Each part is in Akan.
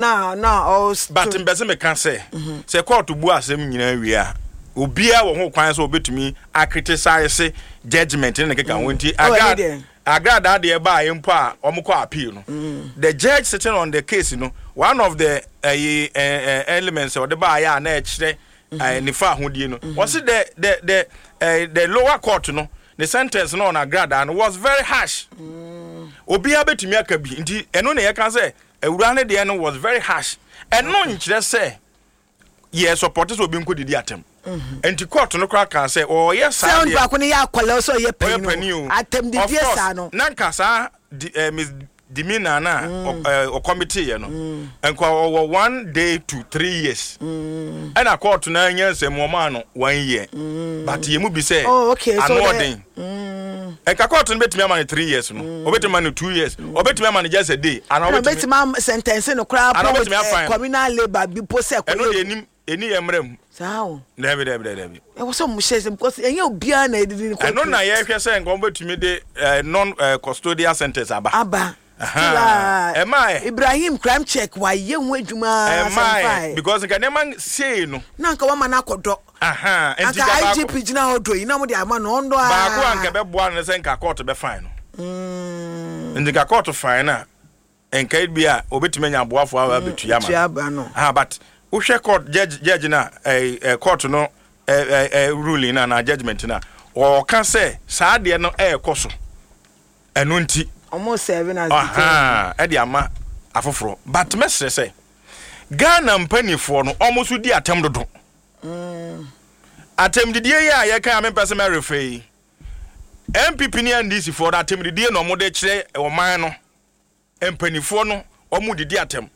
Na na ɔs. But mpɛ sɛ meka sɛ, sɛ kɔɔto bu asɛm nyinaa wie a, obiara wɔ ho kwan sɛ obetumi akritisise judgement ne ne keka ho nti Oh, ɛne agra deɛ. agradaa deɛ baeɛ mpo a wɔkɔ appeal no, the judge sitting on the case no, one of the ɛyi ɛ ɛ elements a ɔde baeɛ a na ɛkyerɛ ɛ ne fa ahodie no, wɔsi the the the ɛ the lower court no ne sentence no on agradaa no was very harsh. Obiara betumi aka bi nti ɛno na yɛka sɛ Awuraa no deɛ no was very harsh. Ɛno nkyerɛ sɛ yɛ support sɛ obi nkɔ didi atɛm. Nti court no koraa kaa sɛ ɔyɛ saa Sɛ deɛ. onipa ko no yɛ akwadaa sɛ ɔyɛ Ɔyɛ panyin panin o, o. atɛmdidie Of course, saa no. na nka saa di, eh, misdemeanor no a ɔ- eh, ɔkɔmiteeɛ no, nka ɔwɔ 1 day to 3 years. Ɛna court no anya nsɛm wɔmaa no one year. But yɛn mu bi sɛ Oh, okay, so ano the- ɔden. Nka court no bɛtumi ama no 3 years no, ɔbɛtumi ama no 2 years, ɔbɛtumi ama no just a day, anaa Ɛna ɔbɛtumi ɔbɛtumi am sentence no koraa Anaa po with ɔbɛtumi eh, afine no. communal labour bi po sɛ Ɛno kɔyɛ deɛ ɛnim ɛni yɛ mmerɛ mu. Saa o. Dabi dabi dabi dabi. Ɛwɔ sɛ ɔmo hyɛ sɛ because ɛnyɛ obiara na ɛdidi ne kɔ. Ɛno na yɛhwɛ sɛ nka wɔbɛtumi de eh, non eh, custodial sentence aba. Aba. Aha. Still a Ɛmaa ɛ. Ibrahim crime check wayɛ ho adwuma Ɛmaa ɛ sɛmfae. because nka nneɛma sei no. Na anka wama no akɔdɔ. Aha, nti Anka nka baako IGP gyina hɔ dɔ yi na wɔde ama no ɔndɔ aa. Baako a nka ɛbɛboa no ne sɛ nka court bɛ fine no. Nti nka court fine no a nka ebi a obetumi anya aboafo a abetua ama Tua no. aba no. Aha, but wohwɛ court judge judge na eh, eh, court no eh, eh, eh, ruling na na judgement na ɔka sɛ saa adeɛ no ɛɛkɔ so. Ɛno nti. Ɔmo serving as deterrent. Ahaa, ɛde ama afoforɔ. But mɛsrɛ sɛ Ghana mpanifoɔ no ɔmo nso di atɛm dodo. Atɛmdidie yi a yɛka a mempɛ sɛ mɛrefa yi, NPP ne NDC foɔ no atɛmdidie na ɔmo de kyerɛ ɔman no. Mpanifoɔ no ɔmo didi atɛm.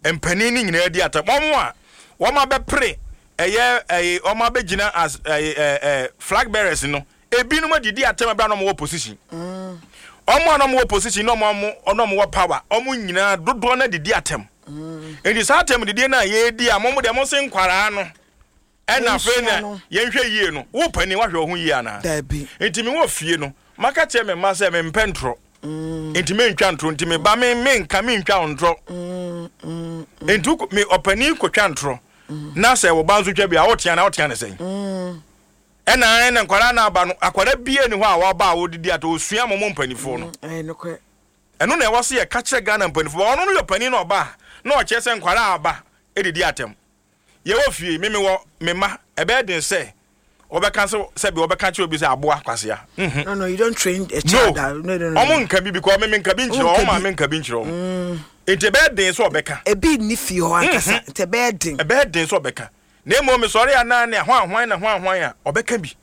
Mpanin no nyinaa di atɛm. Wɔn a wɔn abɛpere ɛyɛ ɛyɛ wɔn abɛgyina as ɛyɛ ɛɛ ɛɛ flag bearers no, ebinom adidi atɛm ɛbɛrɛ na wɔn wɔ position. Wɔn a na wɔn wɔ position na wɔn wɔn na wɔn wɔ power, wɔn nyinaa dodoɔ no adidi atɛm. Nti saa atɛm didie no a yɛredi a wɔn deɛ wɔn se nkwaraa no. Ɛna afei na yɛnhwɛ yie no, wo panin woahwɛ wo ho yie anaa? Dabi. Nti mewɔ fie no, maka kyerɛ me mma sɛ mempɛ ntorɔ. Nti mentwa ntorɔ. Nti me ba me menka mentwa wo ntorɔ. Nti wo me ɔpanin kɔtwa ntorɔ na sɛ wo ba nso twa bi a wotea na wotea ne sɛn? Ɛna ɛna nkwadaa no aba no, akwadaa biara ni hɔ a waba a wɔdidi atɔ, ɔsua mo mo mpanimfoɔ no. Ɛyɛ nokorɛ. Ɛno na ɛwɔ sɛ yɛka kyerɛ Ghana mpanimfoɔ. Ɔno no yɛ ɔpanin na ɔba a na ɔkyerɛ sɛ nkwadaa aba didi atɛm. Yɛwɔ fie, me mewɔ me mma, ɛbɛyɛ den sɛ wɔbɛka sɛ sɛbi wɔbɛka kyerɛ obi sɛ aboa kwasea. Mhm. No, no, you don't train a No, child. that- No, no, no. wɔn nka bi because me menka bi nkyerɛ wɔn, Wonka wɔn bi. maame nka bi nkyerɛ wɔn. Nti ɛbɛyɛ den sɛ ɔbɛka. Ebi nni fie hɔ ankasa, nti ɛbɛyɛ den. Ɛbɛyɛ den sɛ ɔbɛka. Na mmom mesɔre a na ne hwan hwan na hwan hwan a ɔbɛka bi.